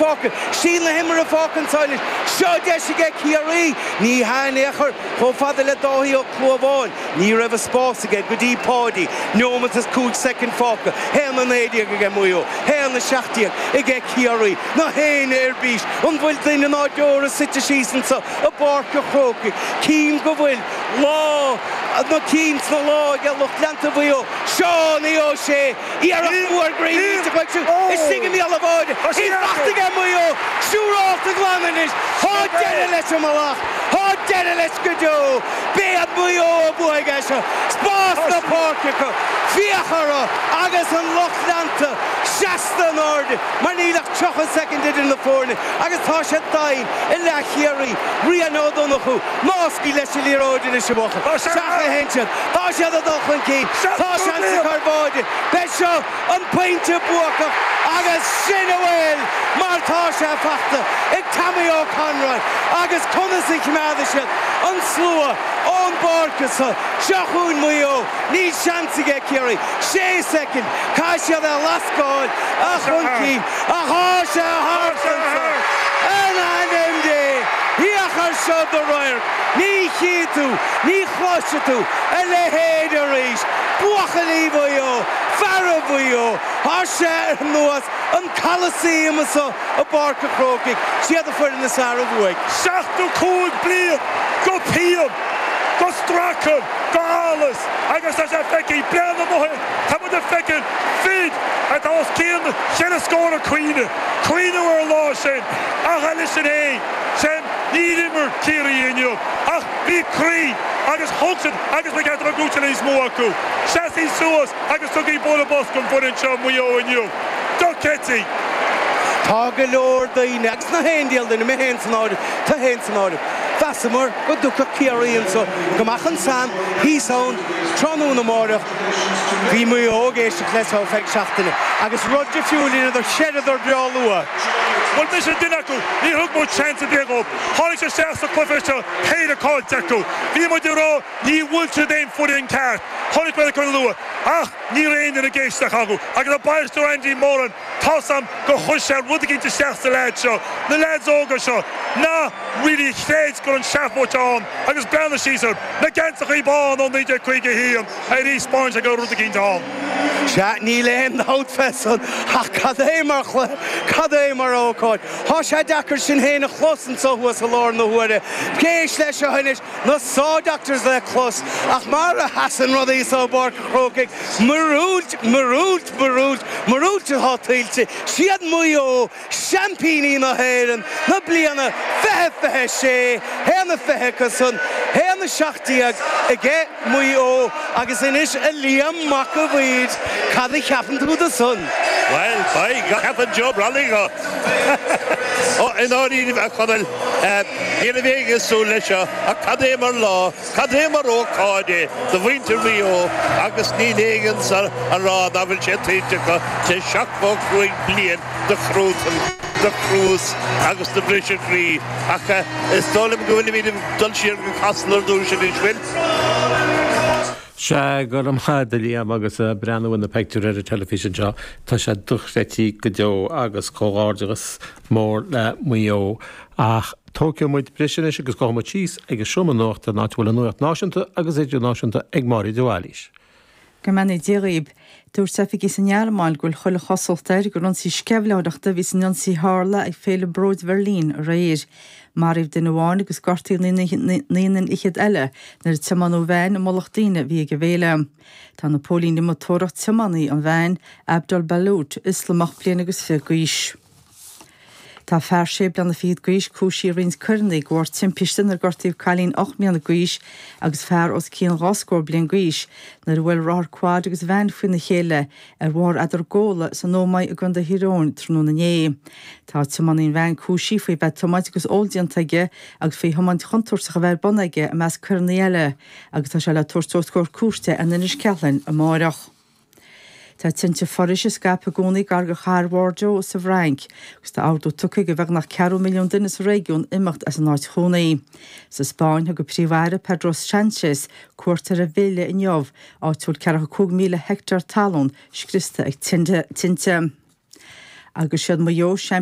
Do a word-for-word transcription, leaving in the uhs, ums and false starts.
fágtha. Síol na himeartha fágtha anso anois. Seo deis aige Ciarraí. Ní hea in aon chor. Chomh fada le Dáithí Ó Clúmháin. Ní raibh an spás aige go dtí Páidí. Neomat is cúig soicind fágtha. Haon a naoi déag aige Maigh Eo. Haon a seacht déag aige Ciarraí. Na héinne ar bís. An bhfuil duine ná deora suite síos anso i bPáirc an Chrócaigh? Cím go bhfuil lá na cinn sna lámha ag lucht leanta Mhaigh Eo. Seánie Ó Sé. Iarracht mhór groí millteach uaidh siúd istigh i mbéal an bháide. Í fachta aige Maigh Eo. Siúrálta glan anois. Tá deireadh leis an mallacht. Tá deireadh leis go deo. B'iad Maigh Eo a bhuaigh é seo. Spás na páirce acu. Féach orthu agus an lucht leanta seasta in airde mar níl ach tríocha soicind idir na foirne agus tá sé doimhin i leath Chiarraí. Rian Ó Donnchú. Ná scaoil leis an liathróid anois a bhuachaill. Sea a théann siad. Tá siad ag dul chun cinn. Tá seans acu ar bháide. Beidh seo an pointe buacach agus sin a bhfuil mar tá sé fachta ag Tommy Ó Conroy agus conas a choimeádfaidh siad an slua ón bpáirc anso. Seo chugainn Maigh Eo. Níl seans aige Ciarraí. Sé soicind. Caithfidh siad é a lascáil chun cinn. Ach tá sé thart anso. In ainm Dé! Féach ar seo do radharc. Ní chífidh tú, ní chloisfidh tú a leithéid arís. Buachaillí Mhaigh Eo, feara Mhaigh Eo, tá sé ar nós an Coliseum anso i bPáirc an Chrócaigh. Siad an foireann is fearr a bhuaigh. Seachtó cúig bliain go pian, go stracadh, go allas agus tá sé feicthe bliain ó shin. Tá muid ag feiceáil fir atá os cionn cheithre scór ag caoineadh, caoineadh ar an lá sin ach leis sin féin, sin níor imir Ciarraí inniu ach bhí croí agus thug siad agus ba cheart a bheith gnóite níos mó acu. Seasaigí suas agus tugaigí bualadh bos don bhfoireann seo Maigh Eo inniu. Dochreidte! Tá go leor daoine, agus na haon diabhal duine, mé féin san áireamh, tú féin san áireamh, mheasamar go dtiocfadh Ciarraí anso, go mbeadh an Sam thíos ann tráthnóna amáireach. Bhí Maigh Eo ag éisteacht leis ar feadh seachtaine agus rud difriúil a rinneadar, chreideadar breá luath. Bhuel, mise duine acu, níor thug muid seans ar bith dhóibh. Tháinig siad isteach sa chluiche seo péire caillte acu. Bhí muid ag rá ní bhfuil siad aon foireann ceart. Chonaic muid acu luath ach ní raibh aon duine ag éisteacht acu agus an bainisteoir Andy Moran tá's a'm gur chuir sé rud eicínt isteach sa leaid seo, na leaids óga seo, ná really chreid go raibh an seafóid ann agus breathnaigh síos ar na geansachaí bán ó naoi déag caoga a haon ar thaispeáin sé go raibh rud eicínt ann. Sea, níl aon dabht fé san, ach cad é mar chluiche, cad é mar ócáid. Tá sé deacair sinn féin a chlos anso thuas i láthair na huaire. Éist leis seo anois, na Saw Doctors le clos, ach mar a sheasann rudaí so i bPáirc an Chrócaigh, Míorúilt, míorúilt, míorúilt, míorúilt atá tuillte, siad Maigh Eo, seaimpíní na hÉireann na bliana fiche fiche sé, haon a fiche acu san, haon a seacht déag aige Maigh Eo agus anois a Liam Mac a' Bhaird, cad a cheapann tú de san? Bhuel, beidh, ceapann Joe Brolly go. Ó, i ndáiríre, a Chonaill, ní raibh éinne ag súil leis seo, ach cad é mar lá, cad é mar ócáid é do mhuintir Mhaigh Eo agus níl éinne anso a rá nach bhfuil sé tuillte acu tar éis seachtó cúig bliain de chruatan, de chruas agus de bhriseadh croí. Ach is dóigh liom go bhfuilimid ag dul siar go Casla ar dtús anois, bhfuil? Sea, go raibh maith agat a Liam agus breathnú ar na pictiúir ar an teilifís anseo, tá sé dochreidte go deo agus comhghairdeachas mór le Maigh Eo. Ach tógfaidh muid briseadh anois agus gabhfaidh muid síos ag an seomra nuachta, an áit a bhfuil an nuacht náisiúnta agus idirnáisiúnta ag Máire de Bhailís. Go mbeannaí Dia dhaoib. Dúirt oifigigh sa nGearmáin go bhfuil chuile chosúlacht air gur ionsaí sceimhlitheoireachta a bhí san ionsaí a tharla ag Féile Bróid Bheirlín aréir. Maraíodh duine amháin agus gortaíodh naoi nduine fhichead eile nuair a tiomáineadh veain i mullach daoine a bhí ag an bhféile. Tá na póilíní amuigh ag tóraíocht tiománaí an veain, Abdul Balut, Ioslamach bliain agus fiche d'aois. Tá fear sé bliana fichead d'aois cúisithe i roinnt coireanna de bharr timpiste inar gortaíodh cailín ocht mbliana d'aois agus fear os cionn dhá scór bliain d'aois nuair a bhuail rothar quad agus veain faoina chéile ar bhóthar Eadargóla san Ómaigh i gContae Thír Eoghain tráthnóna inné. Tá tiománaí an veain cúisithe faoi bheith ag tiomáint agus ól déanta aige agus faoi thiomáint chontúirteach a bheith ar bun aige i measc coireanna eile agus tá sé le tabhairt os comhair cúirte in Inis Ceithleann amáireach. Tá tinte foraoise ag scaipeadh i gcónaí gar do chathair Bhordeaux sa bhFrainc agus tá ordú tugtha do bheagnach ceathrú milliún duine sa réigiún imeacht as an áit chónaí. Sa Spáinn, thug an Príomh-Aire Pedro Sánchez cuairt ar Sevilla inniu, áit a bhfuil ceathracha cúig míle heicteár talún scriosta ag tinte. Agus siad Maigh Eo seaimpíní